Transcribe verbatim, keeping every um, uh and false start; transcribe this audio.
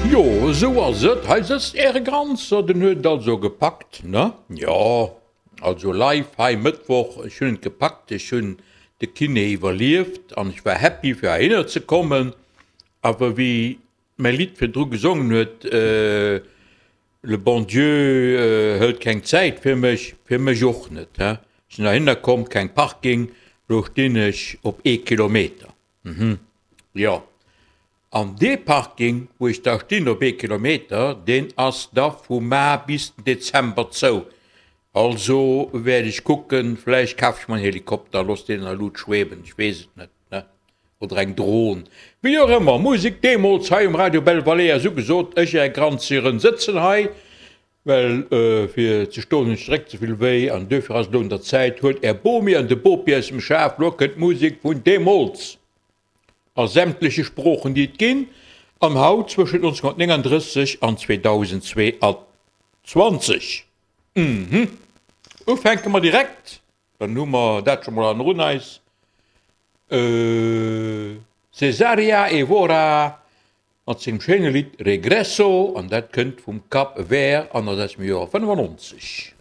Jo, esou ass et. Hei sëtzt Äre Granzer, den huet et also gepackt, ne? Jo, also live hei Mëttwoch, ech hunn et gepackt, ech hunn de Kiné iwwerlieft an ech war happy fir heihinner ze kommen. Awer wéi mäi Lidd virdru gesongen huet, Le bon Dieu hëlt keng Zäit fir mech, fir mech och net, he. Ech sinn heihinner komm, keng Parking, lo stinn ech op ee Kilometer. Mhm, jo. An dee Parking, wou ech da stinn op ee Kilometer, deen ass da vu Mar bis den Dezember zou. Also wäert ech kucken, vläicht kaf ech mer en Helikopter, looss deen an der Lut schweben, ech weess et net, ne, oder eng Dron, wéi och ëmmer. Musek deemools hei um Radio Belvalée ass ugesot. Ech, Är Granzieren, sëtzen hei, well fir ze stoen hunn ech de Réck ze vill wéi an duerfir ass et elo un der Zäit, huelt Är Bomi an de Bopi aus dem Schaf, lo kënnt d'Musek vun deemools a sämtleche Sproochen, déi et ginn, an haut zwëschen nonzénhunnertnénganddrësseg an zweedausendzweeanzwanzeg. Mhm. Ufänke mer direkt, dann hu mer dat scho mol hannerun eis. Cesaria Evora mat sengem schéine Lidd Regresso, an dat kënnt vum Cap Vert an ass aus dem Joer fënnefannonzeg.